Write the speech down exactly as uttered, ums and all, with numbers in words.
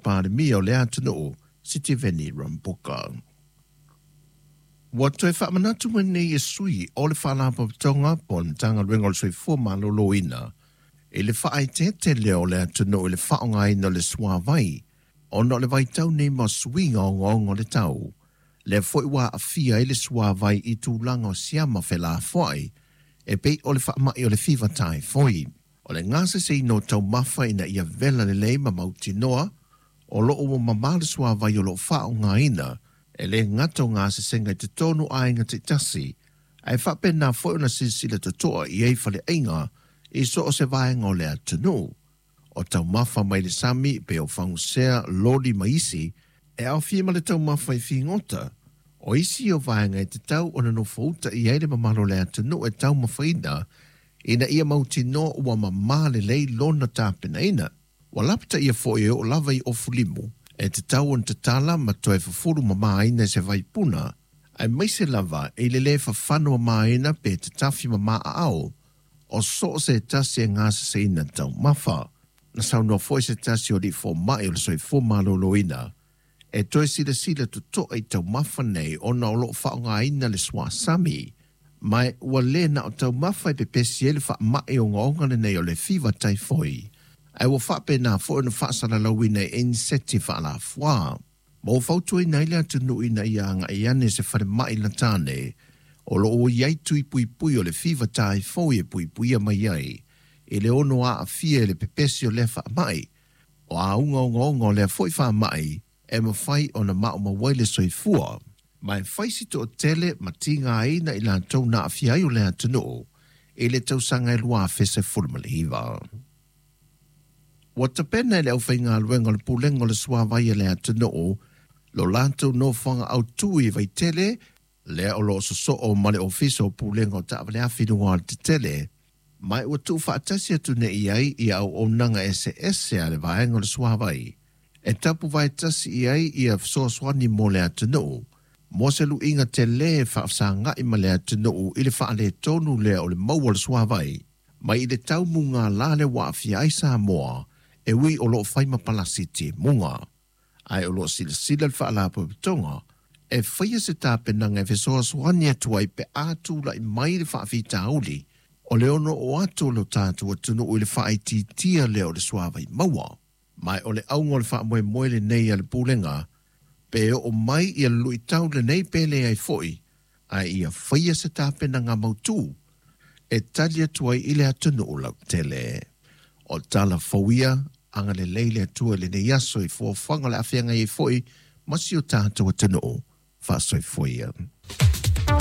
Palemia o le atunuu, Sitiveni Rabuka. Ua toe faamanatu mai nei e sui o le Faalapotopotoga po o le Matagaluega o le Soifua Maloloina i le faaeteete lea o le atunuu i le faaaogaina o le suavai ona o le vaitau nei ma suiga ogaoga o le tau. Lea foi ua aafia ai le suavai i tulaga o siama felafoai e pei o le faamai o le fiva taifoi. O le gaseseina o taumafa ina ia vela lelei ma mautinoa o loo ua mamā le suavai o loo faaaogaina e le gata o gasesega i totonu o aiga taitasi, ae faapena foi ona silasila totoa i ai faleaiga i so o se vaega o le atunuu. O taumafa mai le sami pe o fagusea, loli ma isi, e aofia ma le taumafa i figota. O isi o vaega e tatau ona nofouta i ai le mamalu o le atunuu e taumafaina ina ia mautinoa ua mamā lelei lona tapenaina. Ua lapataia foi e oo lava i ofu limu e tatau ona tatala ma toe fufulu mamāina i se vaipuna, aemaise lava i le lē fafano mamāina pe tatafi mamā aao o so o se tasi e gaseseina taumafa. Na saunoa foi se tasi o alii fomai o le Soifua Maloloina e toe silasila totoa i taumafa nei ona o loo faaaogaina le suasami, ma ua le na o taumafa e pepesi ai le faamai ogaoga lenei o le fiva taifoi, ae ua faapena foi ona faasalalauina e iniseti faalafuā. Ma ua fautuaina ai le atunuu ina ia agai ane se falemai latane o loo ua i ai tui puipui o le fiva taifoi e puipuia mai ai i le ono aafia i le pepesi o lea faamai. O auga ogaoga o lea foi faamai e mafai ona maumau ai le soifua, ma e fai si toatele ma tigaina i latou na aafia ai o le atunuu i le tausaga e lua afe sefulu ma le iva. Ua tapena e le aufaigaluega o le Pulega o le Suavai a le atunuu lo latou nofoaga autū i Vaitele, lea o loo sosoo ma le Ofisa o Pulega o Taavale Afi i luga o alatetele, ma ua tuufaatasi atu nei ai ia auaunaga eseese a le vaega o le suavai e tapuvaetasi i ai ia fesoasoani mo le atunuu mo se luiga telē faafesagai ma le atunuu i le faaletonu lea o le maua o le suavai mai i le tau mugālā le ua aafia ai Samoa e ui o loo fai ma palasi timuga, ae o loo silasila le Faalapotopotoga e faia se tapenaga e fesoasoani atu ai pe a tulai mai le faafitauli o le ono oo atu o lo tatou atunuu i le faaitiitia lea o le suavai maua. Ma o le auga o le faamoemoe lenei a le Pulega, pe oo mai ia le luitau lenei pe leai foi, ae ia faia se tapenaga mautū e tali atu ai i le atunuu lautele. O tala fou ia, agalelei le Atua i lenei aso i fuafuaga o le a feagai ai foi ma si o tatou atunuu. Faasoifua ia.